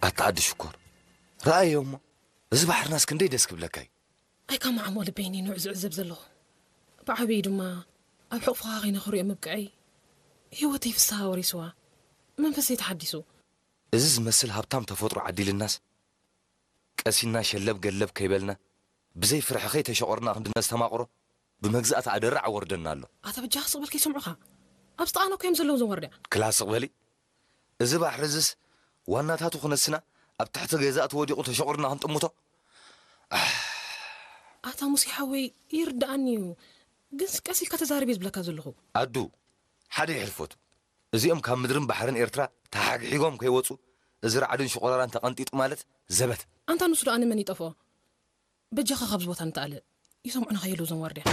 ኣታ ዓዲ ሽኮር፣ ረኣዮ እሞ፣ እዚ ባሕርናስ ክንደይ ደስ ክብለካ እዩ። ኣይካማዓሞ ልበይኒ ንዑ ዝዕዘብ ዘለኹ። ብዓብዪ ድማ ኣብ ሕቑፍኻ ኸይነ ክሪኦ ምብቅዐይ፣ ህይወተይ ፍስሃ ወሪስዋ፣ መንፈሰይ ተሓዲሱ። እዚ ዝመስል ሃብታም ተፈጥሮ ዓዲልናስ፣ ቀሲና ሸለብ ገለብ ከይበልና፣ ብዘይ ፍርሒ ከይተሸቆርና ክንድነስተማቕሮ፣ ብመግዛእቲ ኣደራዕ ኣወርደና ኣሎ። ኣታ በጃኻ ስቕ በል ከይሰምዑኻ። ኣብ ስጣኖ ኮዮም ዘለዉ እዞም ወርድያ። ክላስቕ በሊ። እዚ ባሕሪ እዝስ ዋናታቱ ክነስና፣ ኣብ ትሕቲ ገዛእቲ ወዲቑ ተሸቑርና ክንጥምቶ። ኣታ ሙሴ ሓወይ፣ ይርድኣኒ እዩ። ግንስ ቀስ ኢልካ ተዛረብ እየ ዝብለካ ዘለኹ። ኣዱ፣ ሓደ ይሕልፎት። እዚኦም ካብ ምድርን ባሕርን ኤርትራ ተሓግሒጎም ከይወጹ፣ እዚ ራዕድን ሽቆራራን ተቐንጢጡ ማለት ዘበት። ኣንታ ንሱ ደኣ ንመን ይጠፍኦ? በጃኻ ካብዚ ቦታ ንተኣለ። ይሰምዑና ከየሉ እዞም ዋርድያ።